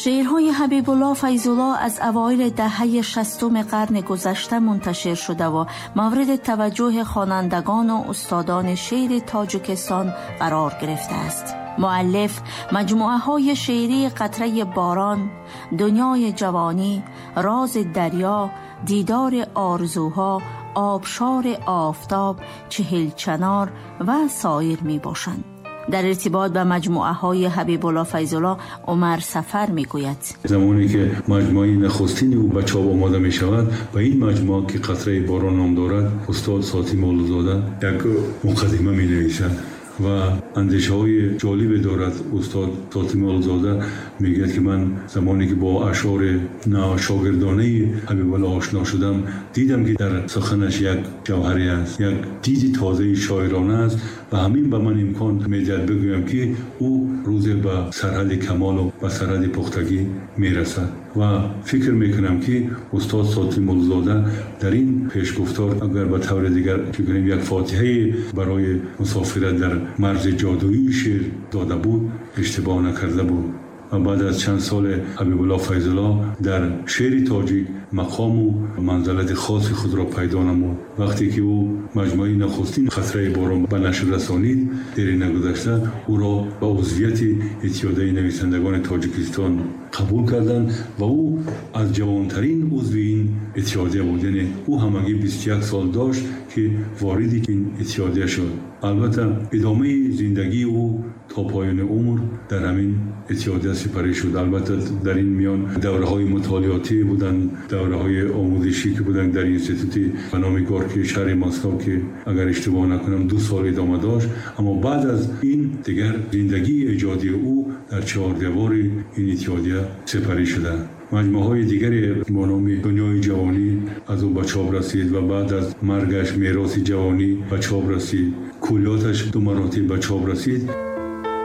Шеърҳои Ҳабибулло Файзулло аз авоили даҳаи шастуми қарни гузашта мунташир шудаву мавриди таваҷҷӯҳи хонандагону устодони шеъри Тоҷикистон қарор гирифтааст. Муаллиф маҷмӯаҳои шеърии «Қатраи борон», «Дунёи ҷавонӣ», «Рози дарё», «Дидори орзуҳо», «Обшори офтоб», «Чиҳилчанор» ва соир мебошанд. Дар иртибот ба маҷмӯаҳои Ҳабибулло Файзулло Умар Сафар мегӯяд: Замоне ки маҷмӯаи нахустини ӯ ба чоп омода мешавад, ба ин маҷмӯа, ки «Қатраи борон» ном дорад, устод Сотим Муллозода як муқаддима менависад ва андешаҳои ҷолибе дорад. Устод Сотим Муллозода мегӯяд, ки ман замоне ки бо ашъори шогирдонаи Ҳабибулло ошно шудам, дидам, ки дар суханаш як ҷавҳаре аст, як диди тозаи шоирона аст ва ҳамин ба ман имкон медиҳад бигӯям, ки ӯ рӯзе ба сарҳади камолу ба сарҳади пухтагӣ мерасад. Ва фикр мекунам, ки устод Сотим Муллозода дар ин пешгуфтор, агар ба таври дигар фикр кунем, як фотиҳае барои мусофират дар марзи ҷодуии шеър дода буд, иштибоҳ накарда буд. Ва баъд аз чанд сол Ҳабибулло Файзулло дар шеъри тоҷик мақому манзалати хоси худро пайдо намуд. Вақте ки ӯ маҷмӯаи нахустин «Қатраи борон» ба нашр расонид, дери нагузашта ӯро ба узвияти Иттиҳодияи нависандагони Тоҷикистон қабул карданд ва ӯ аз ҷавонтарин узви ин иттиҳодия буд, яъне ӯ ҳамагӣ 21 сол дошт, ки вориди ин иттиҳодия шуд. Албатта, идомаи зиндагии ӯ то поёни умр дар ҳамин иттиҳодия сипарӣ шуд. Албатта, дар ин миён давраҳои мутолиотӣ буданд, давраҳои омӯзишӣ, ки буданд дар институти ба номи Горький шаҳри Москва, ки агар иштибоҳ накунам, 2 сол идома дошт. Аммо баъд аз ин дигар зиндагии эҷодии ӯ дар чаҳордевори ин иттиҳодия сипарӣ шуда. Маҷмӯаҳои дигаре бо номи «Дунёи ҷавонӣ» аз ӯ ба чоп расид ва баъд аз маргаш «Мероси ҷавонӣ» ба чоп расид, куллиёташ ду маротиб ба чоп расид.